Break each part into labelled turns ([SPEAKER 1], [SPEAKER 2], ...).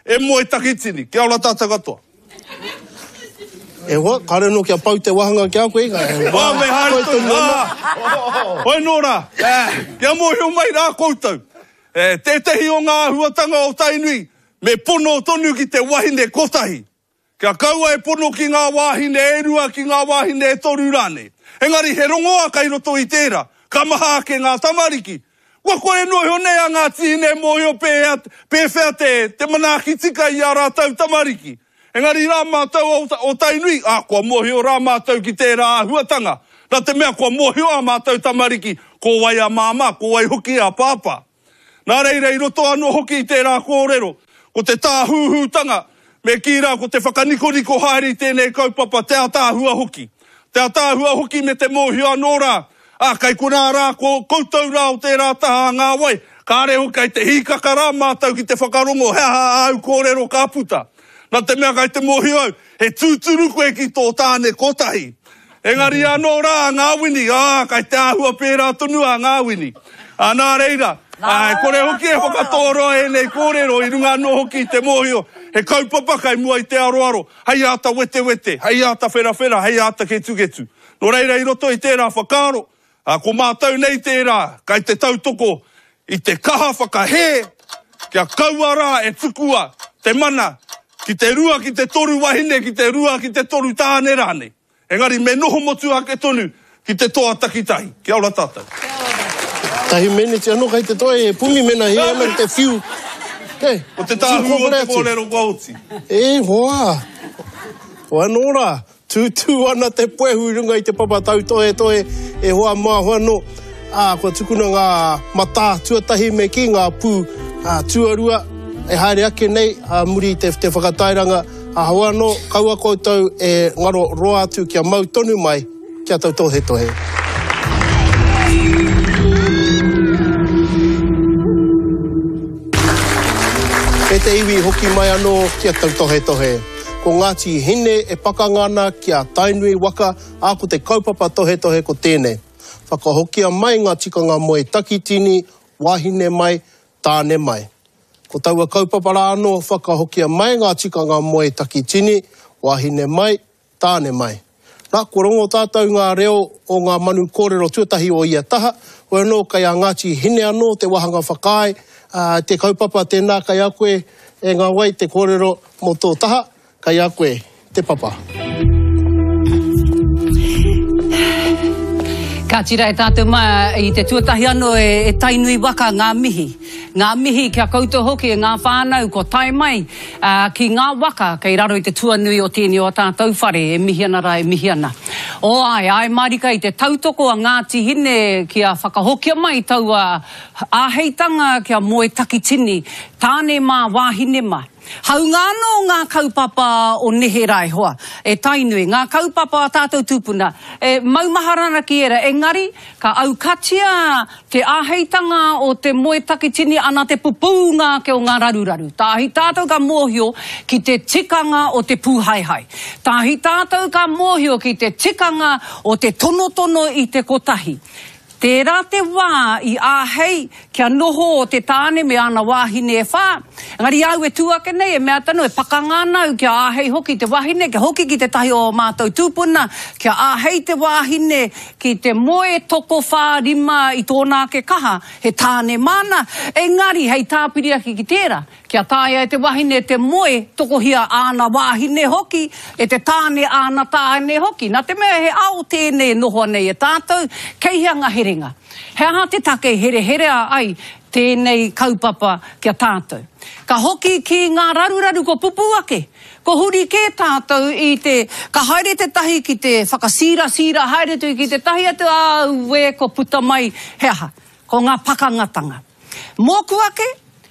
[SPEAKER 1] e moe takitini. Kia ora tātou katoa.
[SPEAKER 2] E hoa, kāre anō kia pau te wāhanga ki a koe.
[SPEAKER 1] Oh, me haere tonu. Ah, hoi nō rā, kia mōhio mai rā koutou, tētehi o ngā āhuatanga o Tainui, me pono tonu ki te wahine kotahi. Kia kaua e pono ki ngā wāhine e rua, ki ngā wāhine e toru rānei. Engari he rongoa kei roto i tērā, ka maha ake ngā tamariki. Kua kore noa iho nei a Ngāti Hine e mōhio pēhea, pēwhea te, te manaaki tika i ā rātou tamariki. Engari rā mātou o, o Tainui, ā, kua mōhio rā mātou ki tērā āhuatanga. Nā te mea kua mōhio ā mātou tamariki ko wai a māmā, ko wai hoki a pāpā. Nā reira, i roto anō hoki i tērā kōrero, ko te tāhūhūtanga, me kī rā ko te whakanikoniko haere i tēnei kaupapa, te ātaahua hoki. Te ātaahua hoki me te mōhio anō rā, ā, kei konā rā ko koutou rā o tērā taha a ngā wai, kāre hoki kei te hīkaka rā mātou ki te whakarongo he aha āu kōrero ka puta. Nā te mea kei te mōhio au, he tūturu koe ki tō tāne kotahi. Engari anō rā a Ngāwini, ā, kai te āhua pērā tonu a Ngāwini. Ā, nā reira, ā, e kore hoki e whakatōroa ēnei kōrero i runga anō hoki i te mōhio, he kaupapa kai mua i te aroaro, hei āta wetewete, hei āta wherawhera, hei āta ketuketu. Nō reira, i roto i tērā whakaaro, ā, ko mātou nei tērā kai te tautoko i te kaha whakahē kia kaua rā e tukua te mana ki te rua ki te toru wahine, ki te rua ki te toru tāne rānei. Engari me noho motuhake tonu ki te toa takitahi. Kia ora tātou.
[SPEAKER 2] Tahi meneti anō kei te toa e Pumi mena hē ana te whiu.
[SPEAKER 1] Kei. Ko te tāhū o te kōrero kua oti.
[SPEAKER 2] E hoa. Hoa anō rā. Tūtū ana te puehu i runga i te papa tautohetohe e hoa mā hoa nō. Ā, kua tukuna ngā matā tuatahi me kī ngā pū tuarua e haere ake nei ā muri i te whakatairanga. Ā, hoa anō, kaua koutou e ngaro roa atu kia mau tonu mai kia tautohetohe. E te iwi hoki mai anō kia tautohetohe. Ko Ngāti Hine e pakanga ana ki a Tainui waka, ā, ko te kaupapa tohetohe ko tēnei. Whakahokia mai ngā tikanga moe takitini, wāhine mai, tāne mai. Ko taua kaupapa rā anō, whakahokia mai ngā tikanga moe takitini, wāhine mai, tāne mai. Nā, kua rongo tātou ngā reo o ngā manu kōrero tuatahi o ia taha, hoi anō kei a Ngāti Hine anō te wāhanga whakaae, ā, te kaupapa tēnā kei a koe e ngā wai te kōrero mō tō taha, Kei a koe te papa.
[SPEAKER 3] Ka tira e tātou mā i te tuatahi anō e Tainui waka ngā mihi. Ngā mihi ki a koutou hoki e ngā whānau kua tae mai ki ngā waka kei raro i te tuanui o tēnei o a tātou whare e mihi ana rā e mihi ana. O āe, āe mārika i te tautoko a Ngāti Hine kia whakahokia mai taua āheitanga kia moe takitini tāne mā wāhine mā. Hāunga anō ngā kaupapa o neherā e hoa, e Tainui, ngā kaupapa a tātou tūpuna, e maumahara ana ki ērā, engari, ka aukatia te āheitanga o te moe takitini ana te pupūnga ake o ngā raruraru. Tāhi tātou ka mōhio ki te tikanga o te pūhaehae. Tāhi tātou ka mōhio ki te tikanga o te tonotono i te kotahi. Tērā te wā i āhei kia noho te tāne me āna wāhine e whā, engari i a au e tū ake nei, e mea atu anō, e pakanga ana au kia āhei hoki te wahine, kia hoki ki tētahi o ō mātou tūpuna, kia āhei te wāhine ki te moe tokowhā rima i tōna ake kaha, he tāne māna, engari hei tāpiri ake ki tērā, Kia taea e te wahine te moe, tokohia āna wāhine hoki, e te tāne āna tāne hoki. Nā te mea he ao tēnei e nohoa nei e tātou, kei hea ngā herenga? He aha te take i hereherea ai tēnei kaupapa ki a tātou? Ka hoki ki ngā raruraru kua pupū ake, kua huri kē tātou i te, ka haere tētahi ki te whakasīrasīra haere atu ki tētahi atu, auē kua puta mai he aha? Ko ngā pakangatanga. Mōku ake,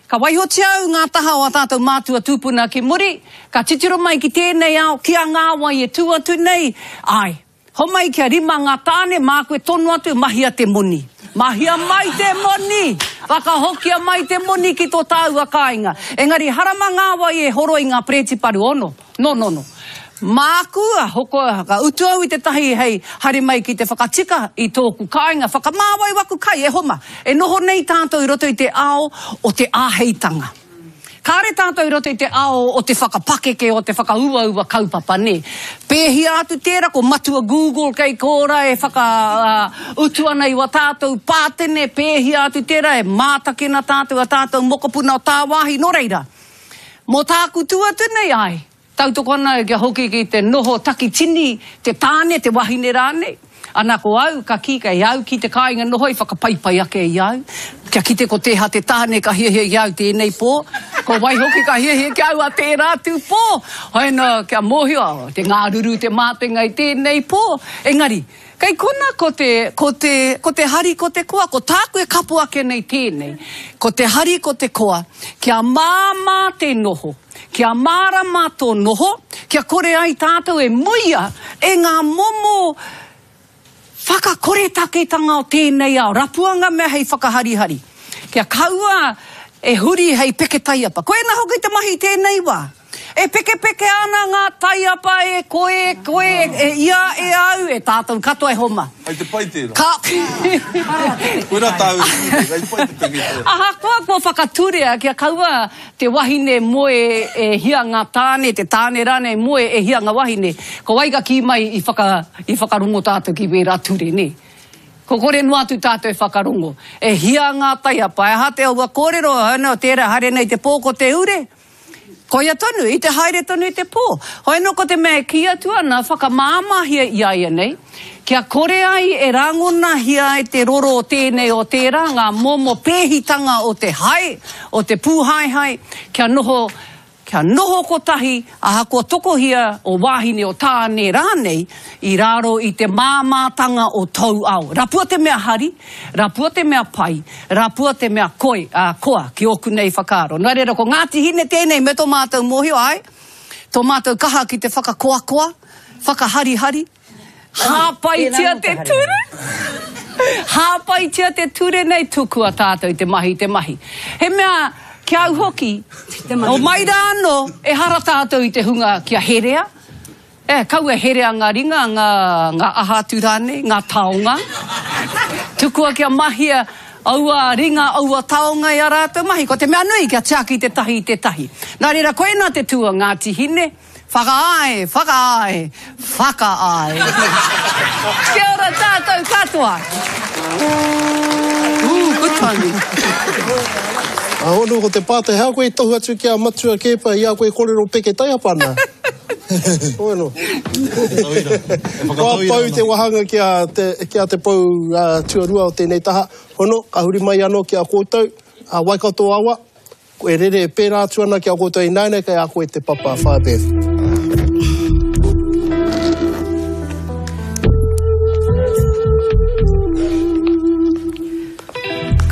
[SPEAKER 3] ka waihotia au ngā taha o ā tātou mātua tūpuna ki muri, ka titiro mai ki tēnei ao, ki a Ngāwai e tū atu nei, āe, homai kia rima ngā tāne, māku e tono atu, mahia te moni. Mahia mai te moni! Whakahokia mai te moni ki tō tāua kāinga. Engari harama Ngāwai e horoi ngā pereti paru ono. No, no, no. Māku a hoko, ka utu au i tētahi hei haere mai ki te whakatika i tōku kāinga, whakamāwai waku kai, e homa. E noho nei tātou i roto i te ao o te āheitanga. Kāre tātou i roto i te ao o te whakapakeke, o te whakauaua kaupapa, nē. Pēhia atu tērā, ko Matua Google kei kōra e whaka, utu ana i wā tātou pātene, pēhia atu tērā e mātakina tātou a tātou mokopuna o tāwāhi, nō reira, mō tāku tū atu nei, āe, Tautoko ana au kia hoki ki te noho takitini te tāne, te wahine rānei. Ana ko au, ka kī kei au ki te kāinga noho i whakapaipai ake i au, kia kite ko tēha te tāne ka hiahia i a au tēnei pō, ko wai hoki ka hiahia ki a au a tērā atu pō. Hoina kia mōhio, te ngāruru te mātenga i tēnei pō. Engari, kei kona ko te, ko te, ko te hari ko te koa, ko tāku e kapo ake nei tēnei, ko te hari ko te koa, kia māmā te noho. Kia mārama tō noho, kia kore ai tātou e muia e ngā momo whakakoretaketanga o tēnei ao, rapua ngā mea hei whakaharihari, kia kaua e huri hei peke taiapa. Koina hoki te mahi i tēnei wā. E pekepeke ana ngā taiapa e koe, e koe, e ia, e au, e tātou katoa e homa.
[SPEAKER 1] Hei te pai tērā.
[SPEAKER 3] Ka.
[SPEAKER 1] Koirā tāu e kī nei, hei te pai te peke taiapa.
[SPEAKER 3] Ahakoa kua whakaturea kia kaua Te wahine moe e hia nga tāne, te tāne rānei moe e hia nga wahine. Ko wai ka kī mai i whaka, i whakarongo tātou ki wērā ture, nē? Ko kore noa atu tātou e whakarongo. E hia ngā taiapa, e aha te aua kōrero, hoi anō, tērā haere nei te pō ko te ure. Koia tonu, i te haere tonu i te pō. Hoi anō ko te mea e kī atu ana, whakamāmāhia i a ia nei, Kia kore ai e rangonahia ai te roro o tēnei o tērā, ngā momo pēhitanga o te hae, o te pūhaehae, kia noho, kia noho kotahi, ahakoa tokohia o wāhine o tāne rānei, i raro i te māmātanga o tōu ao. Rapua te mea hari, rapua te mea pai, rapua te mea koi, ā, koa, ki ōku nei whakaaro. Nā reira, ko Ngāti Hine tēnei me tō mātou mōhio, āe, tō mātou kaha ki te whakakoakoa, whakaharihari, Hāpaitia te ture! Hāpaitia te ture nei, tukua tātou te mahi te mahi. He mea, ki a au hoki, o mai rā anō, ehara tātou i te hunga kia herea, e, kaua e herea ngā ringa, ngā, ngā aha atu rānei, ngā taonga. Tukua kia mahia aua ringa, aua taonga i a rātou mahi. Ko te mea nui, kia tiaki te tahi i te tahi. Nā reira, koinā te tū a Ngāti Hine. Whakaae, whakaae, whakaae. Kia ora tātou katoa. Ooh, good timing.
[SPEAKER 2] A hono ko te pātai, hea koe i tohu atu ki a Matua Keepa i a koe korero peke taiapa ana? Hono. Kua pau te wahanga ki a te, ki a te pou tuarua o tēnei taha. Hono, ka huri mai anō ki a koutou, a Waikato awa. E rere pērā atu ana ki a koutou ināianei kei a koe te papa, Whaea Beth.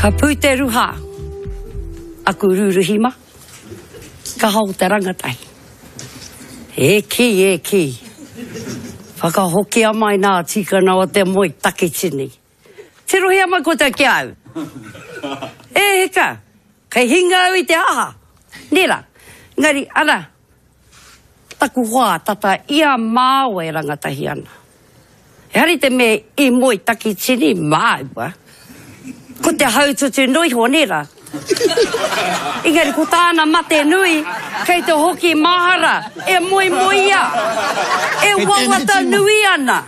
[SPEAKER 4] Ka pū te ruha aku rūruhi ma, kaha o te rangatahi. E kī, e kī, whakahokia mai nā tikana o te moe takitini. Tirohia mai koutou ki a au. E hika, kei hinga au i te aha. Nē rā. Engari, ana, taku hoa tata i a māua e rangatahi ana. Ehara i te mea i moe takitini māua. Ko te haututu noa iho, nē rā. Engari ko tāna mate nui, kei te hoki mahara, e moemoeā, e wawata nui ana.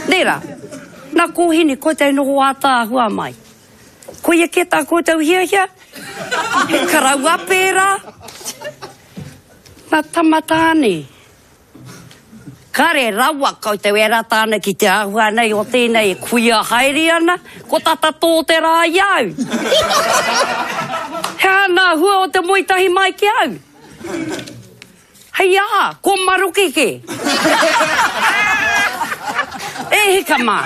[SPEAKER 4] Nē rā? Nā kōhine, koutou e noho ātaahua mai. Koia kē tā koutou hiahia? He karaua pērā? Nā tama tāne. Kare rawa koutou e rata ana ki te āhua nei o tēnei e kuia haere ana, ko tata tō te rā i a au. He aha nā hua o te moe tahi mai ki au? Hei aha, ko maroke kē. E hika mā!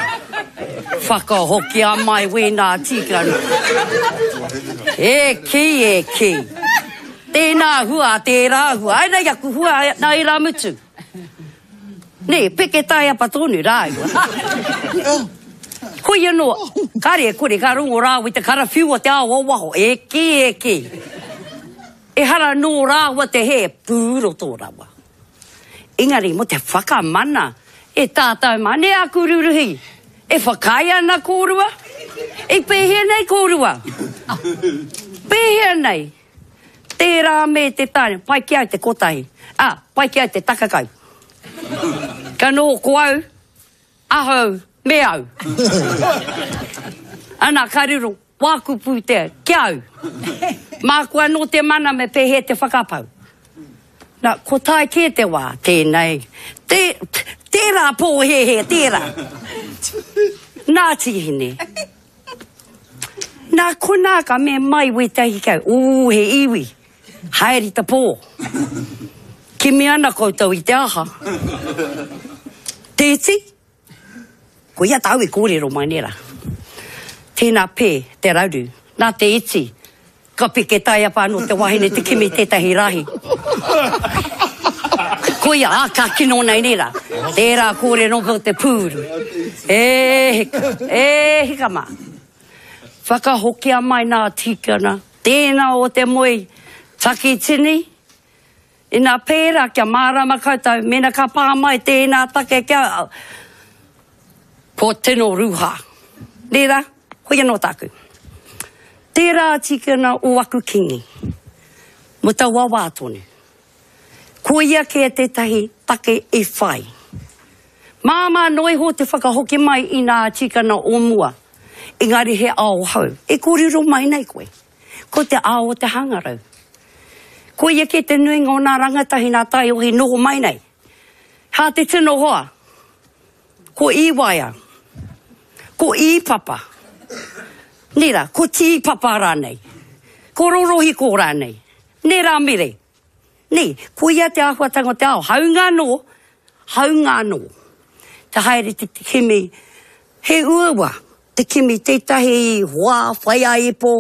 [SPEAKER 4] Whakahokia mai wēnā tikanga. E kī, e kī. Tēnā hua, tērā hua. Ai nei aku hua, nā ērā mutu. Nē, peke taiapa tonu rāua. Koia anō, kāre e kore, ka rongo rāua i te karawhiu o te ao o waho, e kī, e kī. Ehara nō rāua te hē, pūroto rawa. Engari mō te whakamana e tātou mā, nē aku ruruhi, e whakaae ana kōrua? I pēhea nei kōrua? Pēhea nei? Tērā me te tāne, pai ki au te kotahi. Ā, pai ki au te takakau. Ka noho ko au, ahau, me au. Ana, ka riro wāku pūtea ki au. Māku anō te mana me pēhea te whakapau. Na, ko tae kē te wā, tēnei, tē, tērā pōhēhē, tērā. Nā Tīhine. Nā konā ka mea mai wētahi ki au, ū, he iwi, haere i te pō. Kimi ana koutou i te aha? Te iti? Koia tāu i kōrero mai nei rā. Tēnā pē, te raru, nā te iti, ka peke taiapa anō te wahine te kimi tētahi rahi. Koia, ā, ka kino nei nei rā. Tērā kōrero mō te pūru. E hika, e hika mā. Whakahokia mai nā tikana, tēnā o te moe takitini, Ina pērā, kia mārama koutou, mēnā ka pā mai tēnā take kia, ko tino rūhā. Nē rā, koia nō tāku. Tērā tikana o aku kingi, mo taua wā tonu. Koia kē tētahi take i whai. Māmā noa iho te whakahoki mai i nā tikana o mua, engari he ao hou e kōrero mai nei koe. Ko te ao o te hangarau. Koia kē te nuinga o nā rangatahi nā taiohi noho mai nei. Hā te tino hoa. Ko Īwaea. Ko Īpapa. Nē rā, ko Tīpapa rānei. Ko Rorohiko rānei. Nē rā Mere. Nē, koia te āhuatanga o te ao. Hāunga anō, hāunga anō. Te haere te kimi, he uaua te kimi tētahi hoa whaiāipo,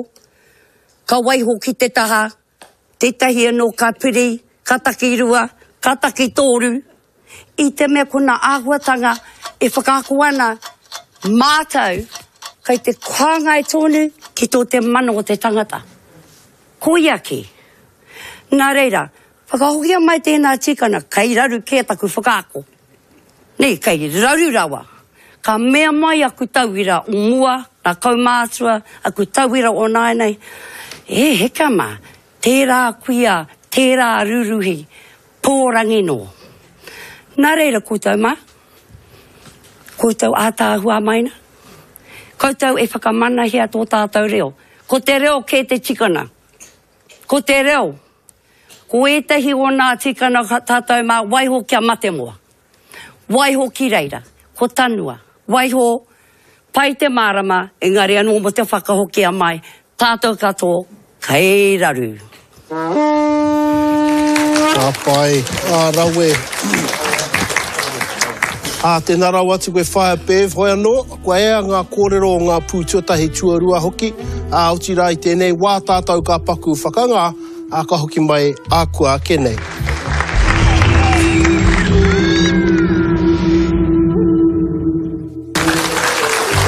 [SPEAKER 4] ka waiho ki te taha, tētahi anō ka piri, ka takirua, ka takitoru, i te mea ko ngā āhuatanga e whakaako ana mātou kei te hāngai tonu ki tō te mana o te tangata. Koia kē. Nā reira, whakahokia mai tēnā tikanga, kei raru kē taku whakaako. Nē, kei raru rawa. Ka mea mai aku tauira o mua, ngā kaumātua, aku tauira o nāianei, E heka mā, tērā kuia, tērā ruruhi, pōrangi nō. Nā reira koutou mā, koutou ātaahua mai na, koutou e whakamanahia tō tātou reo. Ko te reo kē te tikanga. Ko te reo. Ko ētahi o nā tikanga tātou mā, waiho kia matemoa. Waiho ki reira, ko tanua. Waiho, pai te mārama, engari anō mō te whakahokia mai, tātou katoa, kei raru.
[SPEAKER 2] Ka pai, ka rawe. Ā, tēnā rawa atu koe Whaea Bev, hoi anō, kua ea ngā kōrero o ngā pū tuatahi, tuarua hoki, ā, otirā i tēnei wā tātou ka paku whakangā, ā, ka hoki mai ā kua ake nei.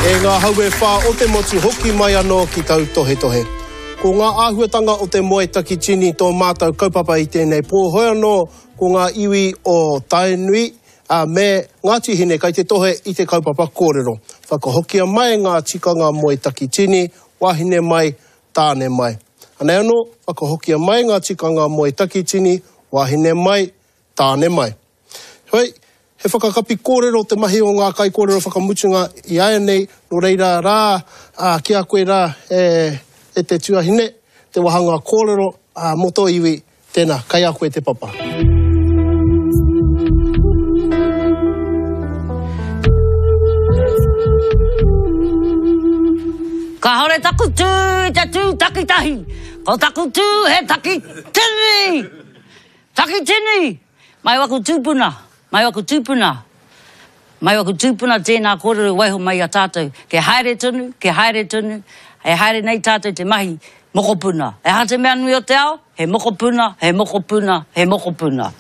[SPEAKER 2] E ngā hau e whā o te motu hoki mai anō ki tautohetohe. Ko ngā āhuatanga o te moe takitini tō mātou kaupapa i tēnei pō, hoi anō ko ngā iwi o Tainui, ā, me Ngāti Hine kai te tohe i te kaupapa kōrero. Whakahokia mai ngā tikanga moe takitini, wāhine mai, tāne mai. Anei anō, whakahokia mai ngā tikanga moe takitini, wāhine mai, tāne mai. Heoi, he whakakapi kōrero te mahi o ngā kaikōrero whakamutunga i āianei, nō reira rā, ā, ki a koe rā, e, e te tuahine, te wāhanga kōrero, ā, mō tō iwi, tēnā, kei a koe te papa.
[SPEAKER 5] Kāore taku tū i te tū takitahi, ko taku tū he takitini! Takitini! Mai waku tūpuna, mai waku tūpuna, mai waku tūpuna tēnā kōrero i waiho mai i a tātou, ke haere tonu, ke haere tonu, e haere nei tātou te mahi mokopuna. He aha te mea nui o te ao? He mokopuna, he mokopuna, he mokopuna.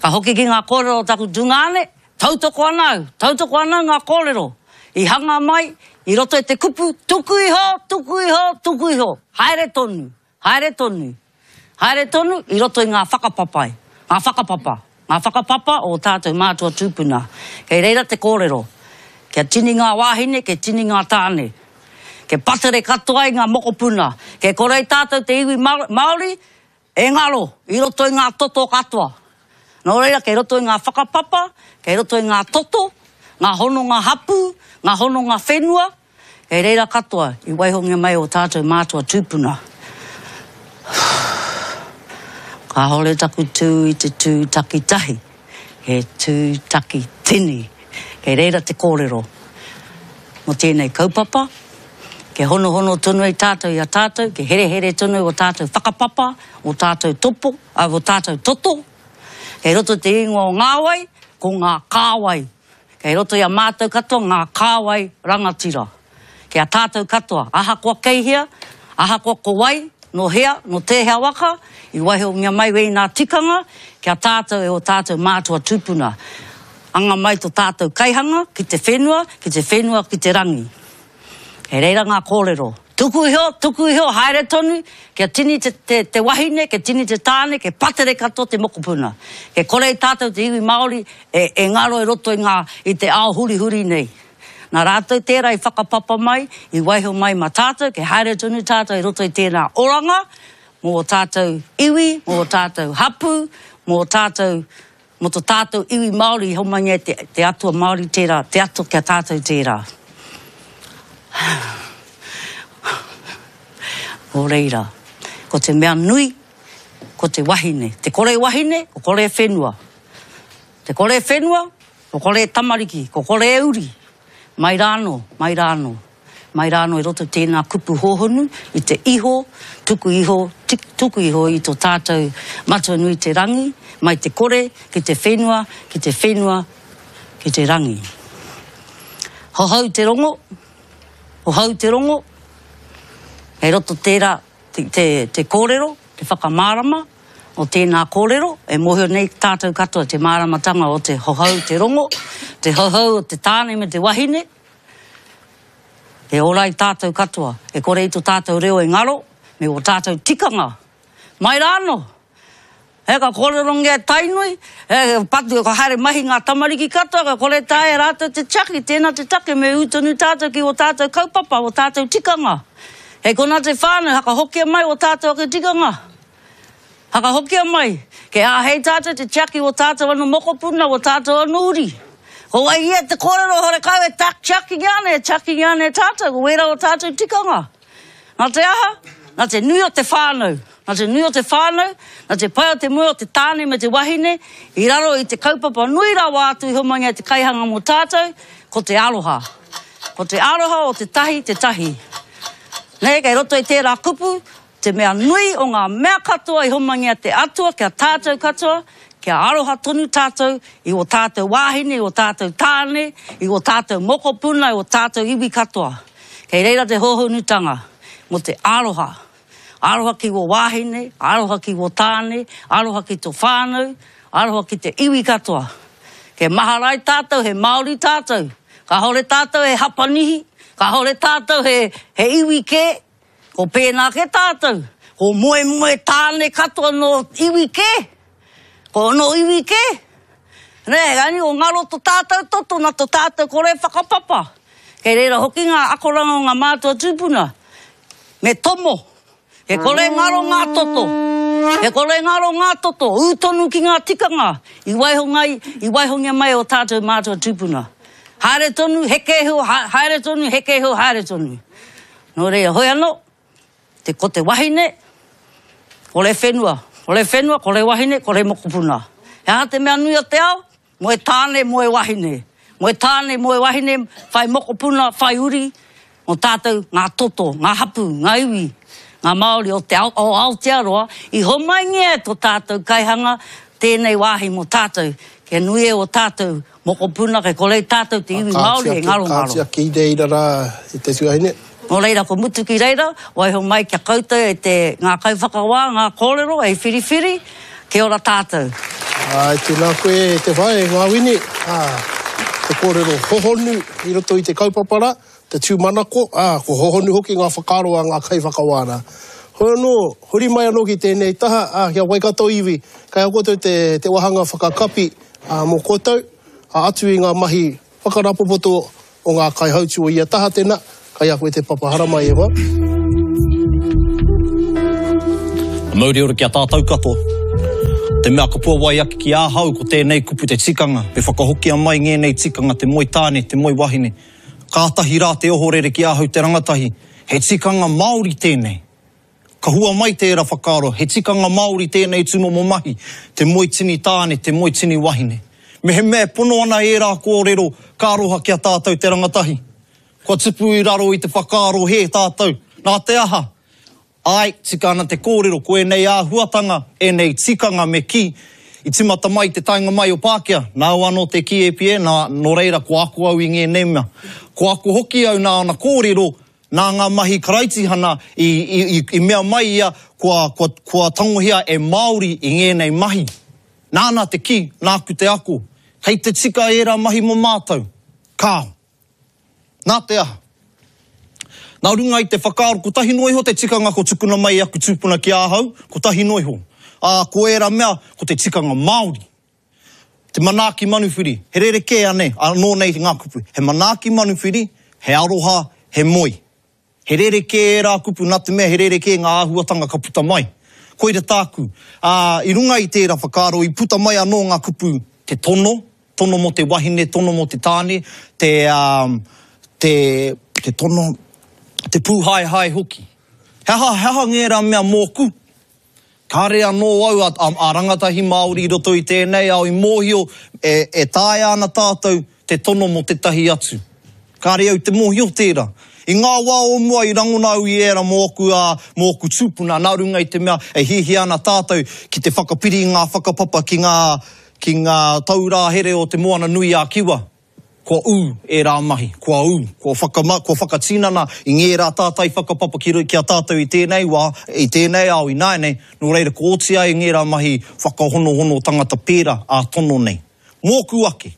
[SPEAKER 5] Ka hoki ki ngā kōrero o taku tungāne, tautoko ana au, tautoko ana au ngā kōrero i hanga mai i roto i te kupu tuku iho, tuku iho, tuku iho, haere tonu. Haere tonu, haere tonu i roto i ngā whakapapai, ngā whakapapa, ngā whakapapa o ō tātou mātua tūpuna. Kei reira te kōrero, kia tini ngā wāhine, kia tini ngā tāne. Kia patere katoa i ngā mokopuna. Kei kore ai tātou te iwi Māori. E ngaro i roto i ngā toto katoa. Nō reira, kei roto i ngā whakapapa, kei roto i ngā toto, ngā hononga hapū, ngā hononga whenua, kei reira katoa i waihongia mai ō tātou mātua tūpuna. Kāore taku tū i te tū takitahi, he tū takitini. Kei reira te kōrero mō tēnei kaupapa, kia honohono tonu ai tātou i a tātou, kia herehere tonu ō tātou whakapapa, ō tātou topo, ā, ō tātou toto. Kei roto te ingoa o Ngāwai, ko ngā kāwai. Kei roto i a mātou katoa ngā kāwai rangatira. Ki a tātou katoa, ahakoa kei hea, ahakoa ko wai, nō hea, nō tēhea waka, i waihongia mai wēnā tikanga ki a tātou e ō tātou mātua tūpuna. Anga mai to tātou kaihanga ki te whenua, ki te whenua ki te rangi. Kei reira ngā kōrero. Tuku iho, tuku iho, haere tonu, kia tini te, te, te wahine, kia tini te tāne, kia patere katoa te mokopuna. Kia kore i tātou te iwi Māori e, e ngaro i roto i ngā, i te ao hurihuri nei. Nā rātou tērā i whakapapa mai, i waiho mai mā tātou, kia haere tonu tātou i roto i tēnā oranga, mō ō tātou iwi, mō ō tātou hapū, mō ō tātou Mo to tātou iwi Māori i homaingia e te, te Atua Māori tērā, te Atua ki a tātou tērā. Nō reira, ko te mea nui, ko te wahine. Te kore wahine, ko kore whenua. Te kore whenua, ko kore tamariki, ko kore uri. Mai rānō, mai rānō. Mai rānō i roto tēnā kupu hōhonu i te iho, tuku iho, tuku iho i to tātou Matua nui te rangi, mai te kore ki te whenua, ki te whenua, ki te rangi. Hohou te rongo, hohou te rongo, kei roto tērā te, te, te kōrero, te whakamārama o tēnā kōrero, e mōhio nei tātou katoa te māramatanga o te hohou te rongo, te hohou o te tāne me te wahine, E ora ai tātou katoa, e kore i to tātou reo e ngaro, me o tātou tikanga. Mai rā anō! He ka kōrerongia e Tainui, he patu, ka haere mahi ngā tamariki katoa, ka kore taea e rātou te tiaki, tēnā te take me ū tonu tātou ki o tātou kaupapa, o tātou tikanga. Hei konā te whānau, hakahokia mai o tātou ake tikanga. Whakahokia mai, kei āhei tātou te tiaki o tātou anō mokopuna, o tātou anō uri. Ko wai ia te kōrero horekau e tak tiakingia ana, e tiakingia ana e tātou, ko wērā o tātou tikanga. Nā te aha? Nā te nui o te whānau. Nā te nui o te whānau, nā te pai o te moe o te tāne me te wahine, i raro i te kaupapa nui rawa atu i homangia te kaihanga mō tātou, ko te aroha. Ko te aroha o te tahi te tahi. Nē, kei roto i tērā kupu, Te mea nui o ngā mea katoa i homangia te Atua kia tātou katoa, kia aroha tonu tātou i ō tātou wāhine, i ō tātou tāne, i ō tātou mokopuna, i ō tātou iwi katoa. Kei reira te hōhonutanga mō te aroha. Aroha ki ō wāhine, aroha ki ō tāne, aroha ki tō whānau, aroha ki te iwi katoa. Kia mahara ai tātou he Māori tātou. Kāore tātou he Hapanihi, kāore tātou he, he iwi kē, Ko pēnā kē tātou, ko moemoe tāne katoa nō iwi kē, ko nō iwi kē. Nē, engari ko ngaro to tātou toto nā to tātou kore whakapapa. Kei reira hoki ngā akoranga o ngā mātua tūpuna. Me tomo, he kore ngaro ngā toto, he kore ngaro ngā toto, ū tonu ki ngā tikanga i waihonga, i waihongia mai e ō tātou mātua tūpuna. Haere tonu, heke iho, haere tonu, heke iho, haere tonu. Nō reira, hoi anō, te, ko te wahine, kore whenua, kore whenua, kore wahine, kore mokopuna. He aha te mea nui o te ao? Moe tāne, moe wahine. Moe tāne, moe wahine, whai mokopuna, whai uri, mō tātou ngā toto, ngā hapū, ngā iwi, ngā Māori o te ao, o Aotearoa, i homaingia e tō tātou kaihanga tēnei wāhi mō tātou, kia nui e ō tātou Mokopuna, kei kore tātou te iwi Māori e ngarongaro.
[SPEAKER 2] Kāti ake i reira rā e te tuahine.
[SPEAKER 5] Nō reira, ko mutu ki reira, waiho mai kia koutou e te, ngā kaiwhakawā, ngā kōrero, hei whiriwhiri, kia ora tātou.
[SPEAKER 2] Āe, tēnā koe e te whae, e Ngāwini, ā, te kōrero hohonu i roto i te kaupapa rā, te tūmanako, ā, ko hohonu hoki ngā whakaaro a ngā kaiwhakawā rā. Hoi anō, huri mai anō ki tēnei taha, ā, ki a Waikato iwi, kei a koutou te, te wāhanga whakakapi, ā, mō koutou, ā, atu i ngā mahi whakarapopoto o ngā kaihautū o ia taha tēnā, kei a koe te papa haramai e hoa.
[SPEAKER 6] Mauri ora ki a tātou katoa. Te mea ka puawai ake ki ahau ko tēnei kupu te tikanga, me whakahokia mai ngēnei tikanga te moe tāne, te moe wahine. Kātahi rā te ohorere ki ahau te rangatahi, he tikanga Māori tēnei. Ka hua mai tērā whakaaro, he tikanga Māori tēnei tūmomo mahi, te moe tini tāne, te moe tini wahine. Mehemea e pono ana ērā kōrero, ka aroha ki a tātou te rangatahi. Kua tupu i raro i te whakaaro hē tātou, nā te aha? Āe, tika ana te kōrero, ko ēnei āhuatanga, ēnei tikanga me kī, i tīmata mai i te taenga mai o Pākehā, nāu anō te kī e Pie, nā, nō reira kua ako au i ngēnei mea. Kua ako hoki au nā ana kōrero, nā ngā mahi Karaitihana i, i, i, i mea mai ia kua, kua, kua tangohia e Māori i ngēnei mahi. Nāna te kī, nāku te ako. Kei te tika ērā mahi mō mātou? Kāo. Nā te aha? Nā runga i te whakaaro kotahi noa iho te tikanga kua tukuna mai e aku tūpuna ki ahau, kotahi noa iho. Ā, ko ērā mea, ko te tikanga Māori. Te manaaki manuwhiri, he rerekē anei, anō nei ngā kupu. He manaaki manuwhiri, he aroha, he moe. He rerekē ērā kupu nā te mea he rerekē ngā āhuatanga ka puta mai. Koira tāku. Ā, i runga i tērā whakaaro i puta mai anō ngā kupu te tono, tono mō te wahine, tono mō te tāne, te, ā, te, te tono, te pūhaehae hoki. He aha, he aha ngērā mea mōku? Kāre anō au a, a, a rangatahi Māori i roto i tēnei ao i mōhio e, e taea ana tātou te tono mō tētahi atu. Kāre au te mōhio tērā. I ngā wā o mua i rangona au i ērā mō ōku, ā, mō ōku tūpuna nā runga i te mea e hiahia ana tātou ki te whakapiri i ngā whakapapa ki ngā, ki ngā taurā here o Te Moana nui a Kiwa. Kua ū ērā mahi, kua ū, kua whakama, kua whakatinana i ngērā tātai whakapapa ki ki a tātou i tēnei wā, i tēnei ao ināianei, nō reira kua oti ai ngērā mahi whakahonohono tangata pērā ā-tono nei. Mōku ake,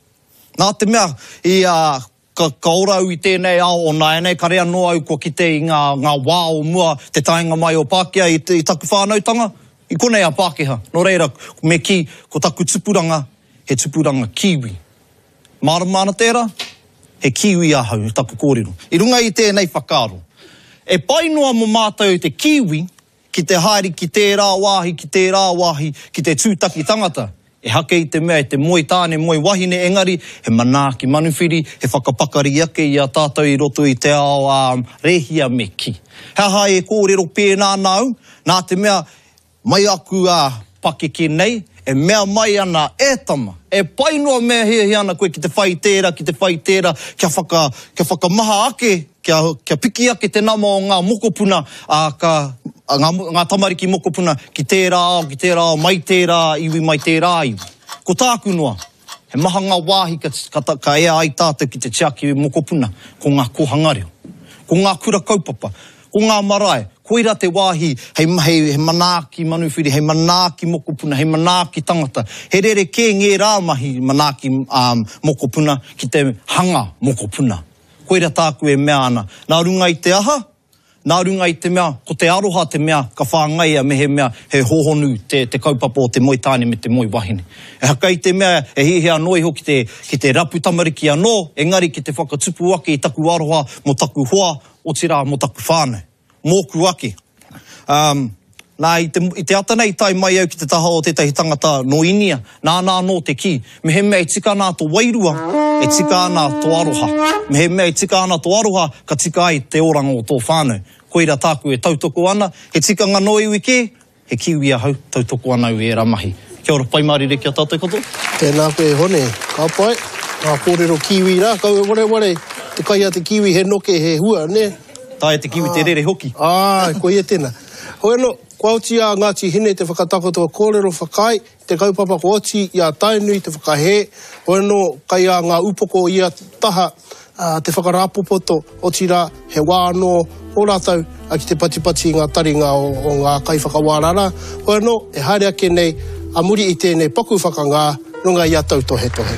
[SPEAKER 6] nā te mea i a, ka, ka ora au i tēnei ao o nāianei, kare anō au kua kite i ngā, ngā wā o mua te taenga mai o Pākehā i, i taku whānautanga, i konei a Pākehā. Nō reira, me kī, ko taku tupuranga, he tupuranga Kiwi. Mārama ana tērā? He Kiwi ahau, taku kōrero. I runga i tēnei whakaaro, e pai noa mō mātou te Kiwi ki te haere ki tērā wāhi, ki tērā wāhi, ki te tūtaki tangata. Ehake i te mea e te moe tāne, moe wahine, engari he manaaki manuwhiri, he whakapakari ake i a tātou i roto i te ao ā-rēhia me kī. He aha e kōrero pēnā ana au? Nā te mea, Mai aku a pakeke nei, e mea mai ana, E tama, e pai noa me hiahia ana koe ki te whai tērā, ki te whai tērā, kia whaka, kia whakamaha ake, kia, kia piki ake te nama o ngā mokopuna, ā, ka, ngā, ngā tamariki mokopuna ki tērā ao, ki tērā ao, mai tērā iwi, mai tērā iwi. Ko tāku noa, he maha ngā wāhi ka, ka, ka ea ai tātou ki te tiaki mokopuna, ko ngā kōhanga reo, ko ngā kura kaupapa, Ko ngā marae, koira te wāhi hei, hei manaaki manuwhiri, hei manaaki mokopuna, hei manaaki tangata. He rerekē ngērā mahi manaaki mokopuna ki te hanga mokopuna. Koira tāku e mea ana. Nā runga i te aha? Nā runga i te mea, ko te aroha te mea ka whāngaia mehemea he hōhonu te, te kaupapa o te moe tāne me te moe wahine. Ehake i te mea e hiahia anō iho ki te, ki te rapu tamariki anō, engari ki te whakatupu ake i taku aroha mō taku hoa, otirā mō taku whānau, mōku ake. Um, nā, i te, i te ata nei i tae mai au ki te taha o tētahi tangata nō Inia, nāna anō te kī, mehemea e tika ana tō wairua, e tika ana tō aroha. Mehemea e tika ana tō aroha, ka tika ai te oranga o tō whānau. Koira tāku e tautoko ana, he tikanga nō iwi kē, He Kiwi ahau, tautoko ana au i ērā mahi. Kia ora, pai mārire ki a tātou katoa.
[SPEAKER 2] Tēnā koe e Hone. Ka pai. Ngā kōrero Kiwi rā, kaua e wareware, te kai a te Kiwi he noke, he hua, nē?
[SPEAKER 6] Taea te Kiwi te rere hoki.
[SPEAKER 2] Āe, koia tēnā. Hoi anō, kua oti a Ngāti Hine te whakatakoto kōrero whakaae i te kaupapa kua oti i a Tainui te whakahē, hoi anō, kai a ngā upoko o ia taha, te whakarāpopoto, otirā, he wā anō ō rātou ki te patipati i ngā taringa o ngā kaiwhakawā rarā, hoi anō, e haere ake nei a muri i tēnei paku whakangā runga i a tautohetohe.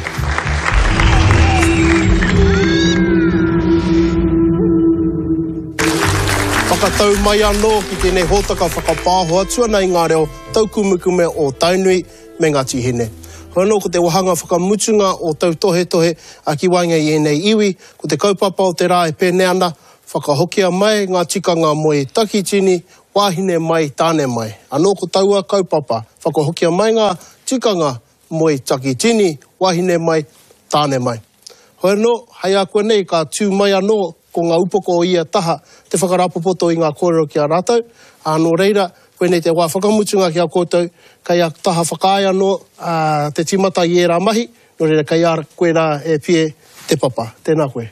[SPEAKER 2] Whakatau mai anō ki tēnei hōtaka whakapāho atu ana i ngā reo taukumekume o Tainui, me Ngāti Hine. Hoi anō ko te wāhanga whakamutunga o tautohetohe ki waenga i ēnei iwi, ko te kaupapa o te rā e pēnei ana, whakahokia mai ngā tikanga moe takitini wāhine mai, tāne mai. Anō ko taua kaupapa, whakahokia mai ngā tikanga moe takitini, wāhine mai, tāne mai. Hoi anō, hei ākuanei ka tū mai anō ko ngā upoko o ia taha te whakarāpopoto i ngā kōrero ki a rātou, ā, nō reira, koinei te wā whakamutunga ki a koutou, kei a taha whakaae anō te tīmata i ērā mahi, nō reira kei a koe rā e Pie te papa. Tēnā koe.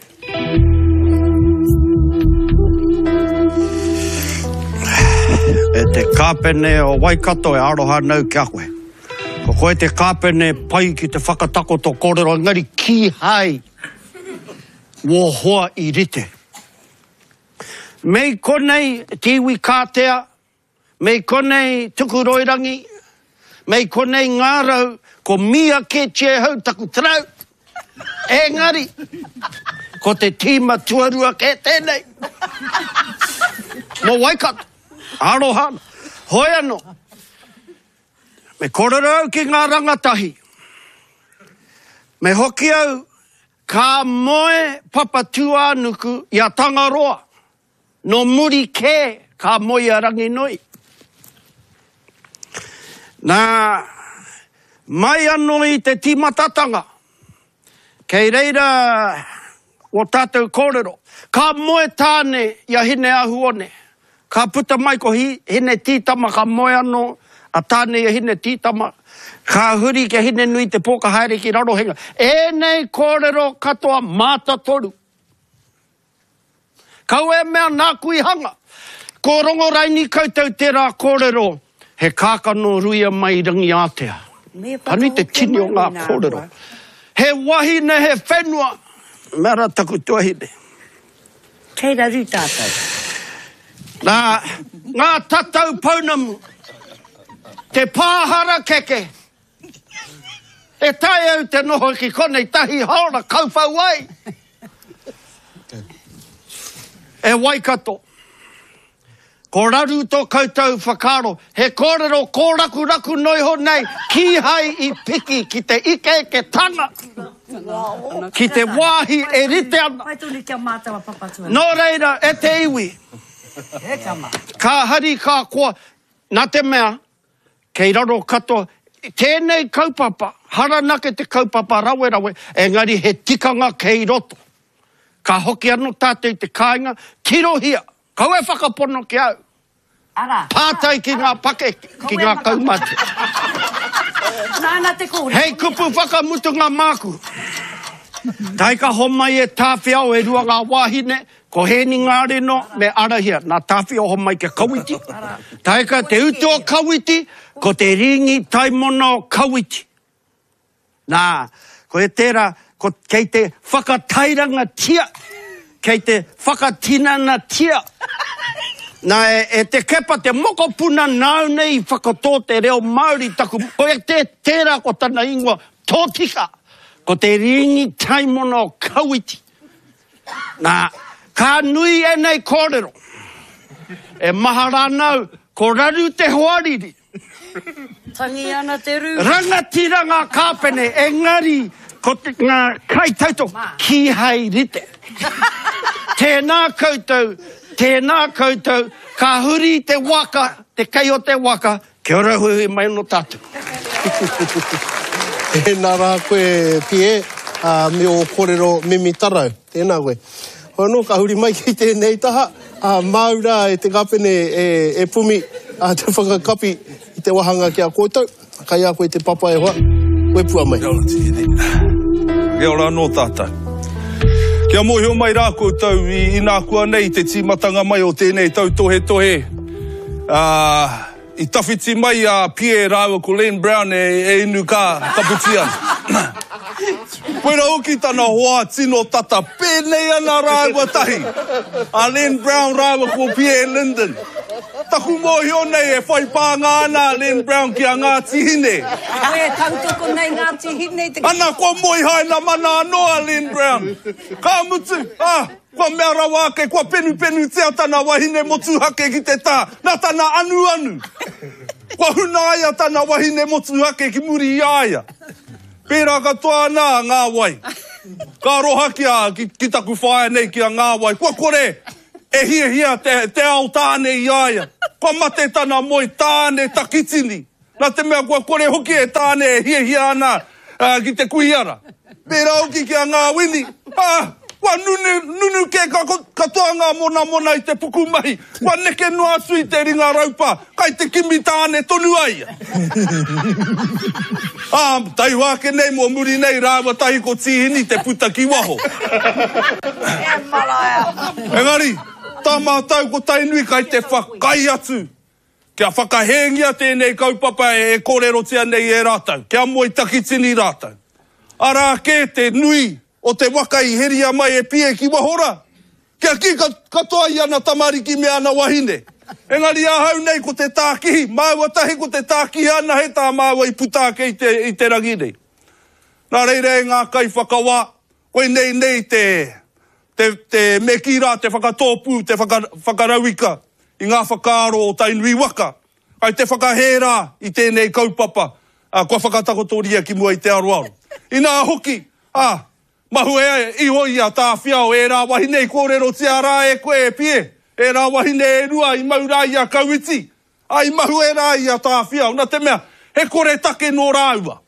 [SPEAKER 7] E te kāpene o Waikato e aroha nau ki a koe. Ko koe te kāpene pai ki te whakatakoto kōrero engari kīhai wō hoa i rite. Mei konei te iwi kātea, mei konei Tukuroirangi, mei konei Ngārau, ko mīa kētia e hau taku tarau. Engari, ko te tīma tuarua kē tēnei. Mō Waikato, aroha ana. Hoi anō, Me kōrero au ki ngā rangatahi. Me hoki au ka moe Papatūānuku i a Tangaroa, nō muri kē ka moe a Ranginui. Nā, mai anō i te tīmatatanga, Kei reira wō tātou kōrero. Ka moe Tāne i a Hine-ahu-one. Ka puta mai ko Hine-tītama ka moe anō a Tāne i a Hine-tītama. Ka huri ki a Hine-nui-te-pō ka haere ki Rarohenga. Ēnei kōrero katoa mātatoru. Kaua e mea nāku i hanga. Ko Rongoraini koutou tērā kōrero, he kākano ruia mai i Rangiātea. Ka nui te tini o ngā kōrero. He wahine, he whenua, mea rā taku tuahine.
[SPEAKER 4] Kei raru tātou.
[SPEAKER 7] Nā, ngā tatau pounamu, te pā harakeke, E taea au te noho ki konei tahi haora kauwhau ai. E Waikato, ko raru tō koutou whakaaro, he kōrero kōrakuraku noiho nei kīhai i piki ki te ikeiketanga, ki te wāhi e rite ana. Nō reira, e te iwi, ka hari ka koa, nā te mea, Kei raro katoa tēnei kaupapa, haranake te kaupapa rawerawe, engari he tikanga kei roto. Ka hoki anō tātou i te kāinga, tirohia, kaua e whakapono ki au. Pātai ki ngā pakeke, ki ngā kaumātua. Hei kupu whakamutunga māku. Taika homai e Tāwhiao e rua ngā wāhine, Ko Hēni Ngāreno me Arahia, nā Tāwhio homai ki a Kawiti. Taeka te utu o Kawiti, ko te rīngi taimona o Kawiti. Nā, ko e tērā, ko, kei te whakatairangatia, kei te whakatinanatia. Nā, e, e Te Kepa, te mokopuna nāu nei i whakatō te reo Māori taku, ko e te, tērā ko tana ingoa tōtika, ko te rīngi taimona o Kawiti. Nā, ka nui ēnei kōrero. E mahara ana au, ko raru te hoariri.
[SPEAKER 4] Tangi ana te rū.
[SPEAKER 7] Rangatira ngā kāpene, engari ko te, ngā kaitautoko, kīhai rite. Tēnā koutou, tēnā koutou, ka huri te waka, te kei o te waka, Kia ora huihui mai ano tatou.
[SPEAKER 2] Tēnā rā koe Pie, ā, me ō kōrero mimi tarau. Tēnā koe. Hoi anō, ka huri mai ki tēnei taha, ā, māu rā e te kāpene e, e Pumi, ā, te whakakapi i te wāhanga ki a koutou. Kai a koe te papa e hoa, wepua mai.
[SPEAKER 1] Kia ora Tīhene. Kia ora anō tātou. Kia mōhio mai rā koutou i inākuanei te tīmatanga mai o tēnei tautohetohe, ā, I tawhiti mai a Pierre rāua ko Len Brown e inu ka kapiti ana. Koira hoki tana hoa tino tata, pēnei ana rāua tahi, a Len Brown rāua ko Pierre Linden. Taku mōhio nei e whai pānga ana a Len Brown ki a Ngāti Hine.
[SPEAKER 3] Koe e tautoko nei Ngāti Hine i te.
[SPEAKER 1] Ana kua moe hainamana anō a Len Brown. Ka mutu, ā, Kua mea rawa ake, kua penupenutia tana wahine motuhake ki te tā, nā tana anuanu. Kua hunaia tana wahine motuhake ki muri i a ia. Pērā katoa ana a Ngāwai. Ka aroha ki a, ki, ki taku whaea nei, ki a Ngāwai. Kua kore e hiahia te, te ao tāne i a ia. kua mate tana moe tāne takitini, nā te mea kua kore hoki e tāne e hiahia ana ki te kuiara. Pērā hoki ki a Ngāwini, ā, kua nunu, nunu kē katoa ngā monamona i te pukumahi, kua neke noa atu i te ringa raupa, kai te kimi tāne tonu a ia. Ā, taihoa ake nei mō muri nei rāua tahi ko Tīhini te puta ki waho.
[SPEAKER 4] E maraea!
[SPEAKER 1] Engari, tā mātou ko Tainui kai te whakai atu kia whakahēngia tēnei kaupapa e kōrerotia nei e rātou, kia moe takitini rātou. Arā kē te nui o te waka i heria mai e Pie ki waho rā, kia kī katoa i ana tamariki me ana wahine. Engari ahau nei ko te tākihi, māua tahi ko te tākihi anahe tā māua i puta ake i te, i te rangi nei. Nā reira e ngā kaiwhakawā, koinei nei te, te, te, me kī rā te whakatōpū, te whaka, whakarauika i ngā whakaaro o Tainui waka, kai te whakahē rā i tēnei kaupapa, ā, kua whakatakotoria ki mua i te aroaro. Inā hoki, ā, mahue iho i a Tāwhiao ērā wahine i kōrerotia rā e koe e Pie, ērā wahine e rua i mau rā i a Kauiti, ā, i mahue rā i a Tāwhiao, nā te mea, he koretake nō rāua.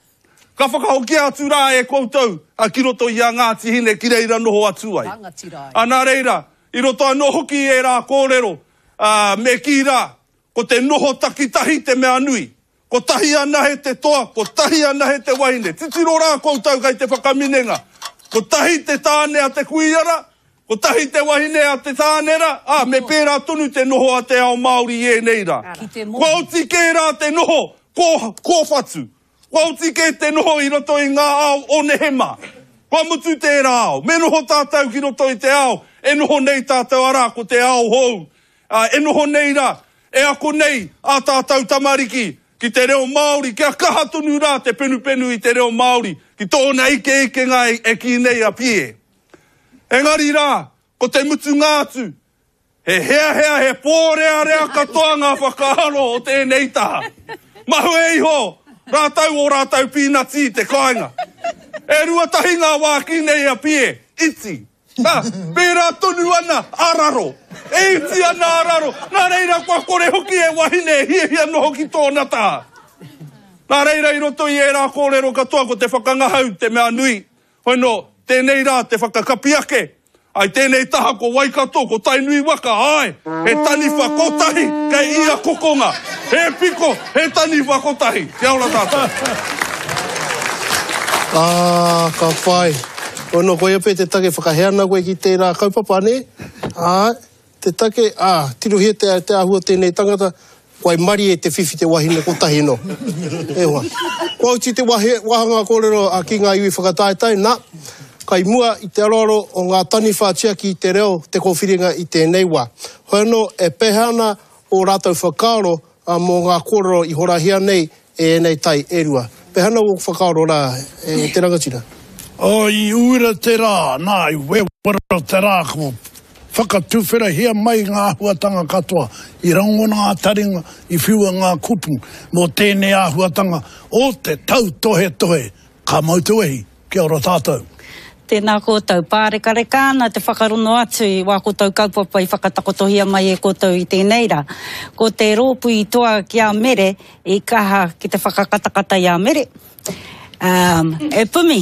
[SPEAKER 1] Ka whakahokia atu rā e koutou ki roto i a Ngāti Hine ki reira noho atu ai. Ā, nā reira, i roto anō hoki i ērā kōrero, ā, me kī rā, ko te noho takitahi te mea nui. Kotahi anahe te toa, kotahi anahe te wahine. Titiro rā koutou kei te whakaminenga. Kotahi te tāne a te kuia rā, kotahi te wahine a te tāne rā, ā, me pērā tonu te noho a te ao Māori i ēnei rā. Kua oti kē rā te noho kō, kōwhatu. Kua oti kē te noho i roto i ngā ao o nehe mā. Kua mutu tērā ao. Me noho tātou ki roto i te ao e noho nei tātou, arā, ko te ao hou. Ā, e noho nei rā, e ako nei ā tātou tamariki ki te reo Māori, kia kaha tonu rā te penupenu i te reo Māori ki tōna ikeikenga e kī nei a Pie. Engari rā, ko te mutunga atu, he heahea, he pōrearea katoa ngā whakaaro o tēnei taha. Mahue iho rātou ō rātou pīnati i te kāinga. E ruatahi ngā wā kī nei a Pie, iti. Nā, pērā tonu ana a raro. E iti ana a raro, nā reira kua kore hoki e wahine e hiahia noho ki tōna taha. Nā reira i roto i ērā kōrero katoa ko te whakangahau te mea nui. Hoi nō, tēnei rā te whakakapi ake. Ai tēnei taha ko Waikato, ko Tainui waka, āe, he taniwha kotahi kei ia kokonga. He piko, he taniwha kotahi. Kia ora tātou.
[SPEAKER 2] Ā, ka pai. Ono, koia pea te take whakahē ana koe ki tērā kaupapa, nē? Āe, te take, ā, tirohia te, te āhua o tēnei tangata, waimarie te whiwhi te wahine kotahi nō. E hoa. Kua oti te wahe, wāhanga kōrero a ki ngā iwi whakataetae, nā, kai mua i te aroaro o ngā taniwha tiaki i te reo te kōwhiringa i tēnei wā. Hoi anō, e pēhea ana ō rātou whakaaro mō ngā kōrero i horahia nei e ēnei tai e rua. Pēhea ana ō whakaaro rā, e te rangatira?
[SPEAKER 8] Oh, i uira te rā, nā, i wewera te rā, kua whakatuwherahia mai ngā āhuatanga katoa, i rangona ngā taringa, i whiua ngā kupu mō tēnei āhuatanga o te tautohetohe Ka mau te wehi, kia ora tātou.
[SPEAKER 5] Tēnā koutou. Pārekareka ana te whakarono atu i wā koutou kaupapa i whakatakotohia mai e koutou i tēnei rā. Ko te rōpū i toa ki a Mere i kaha ki te whakakatakata i a Mere. Um, e Pumi,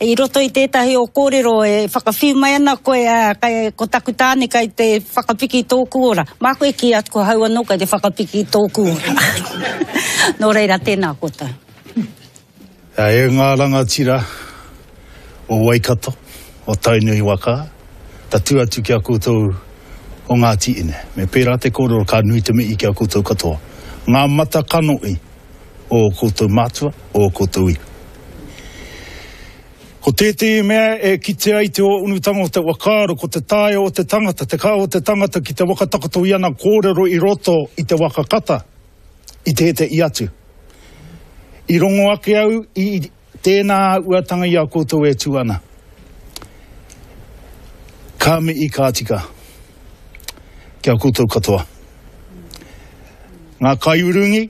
[SPEAKER 5] i roto i tētahi o kōrero e whakawhiu mai ana koe, ā, kai, ko taku tāne kai te whakapiki i tōku ora. Māku e kī atu ko hau anō kai te whakapiki i tōku ora. Nō reira, tēnā koutou.
[SPEAKER 9] E ngā rangatira o Waikato, o Tainui waka, tatū atu ki a koutou o Ngāti Ine. Me pērā te kōrero ka nui te mihi ki a koutou katoa. Ngā mata kanohi o ō koutou mātua, o ō koutou iwi. Ko tētehi mea e kitea ai te ōunutanga o te whakaaro ko te taea o te tangata, te kaha o te tangata ki te whakatakoto i ana kōrero i roto i te waka kata. i tētehi atu. I rongo ake au i tēnā āhuatanga i a koutou e tū ana. Ka mihi ka tika ki a koutou katoa. Ngā kaiurungi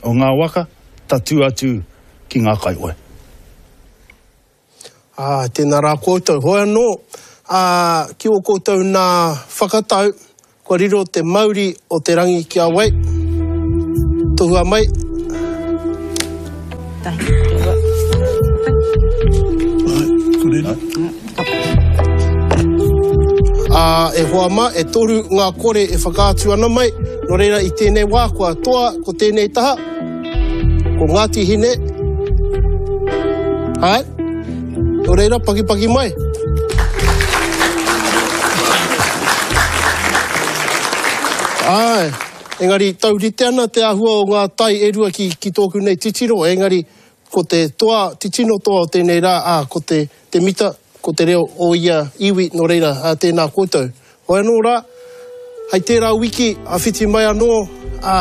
[SPEAKER 9] o ngā waka, tatū atu ki ngā kaihoe.
[SPEAKER 2] Ā, tēnā rā koutou. Hoi anō, ā, ki ō koutou nā whakatau, Kua riro te mauri o te rangi ki a wai? Tohua mai. Ā, e hoa mā, e toru ngā kore e whakaatu ana mai, nō reira i tēnei wā kua toa ko tēnei taha, ko Ngāti Hine, āe, nō reira pakipaki mai. Āe, engari taurite ana te āhua o ngā tai e rua ki, ki tōku nei titiro, engari ko te toa, te tino toa o tēnei rā, ā, ko te, te mita, ko te reo o ia iwi, nō reira, ā, tēnā koutou. Hoi anō rā, hei tērā wiki, a whiti mai anō, ā,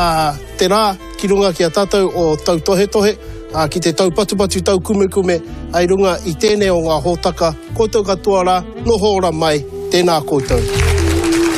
[SPEAKER 2] te rā ki runga ki a tātou o tautohetohe, ā, ki te taupatupatu taukumekume, hei runga i tēnei o ngā hōtaka, koutou katoa rā, noho ora mai, tēnā koutou.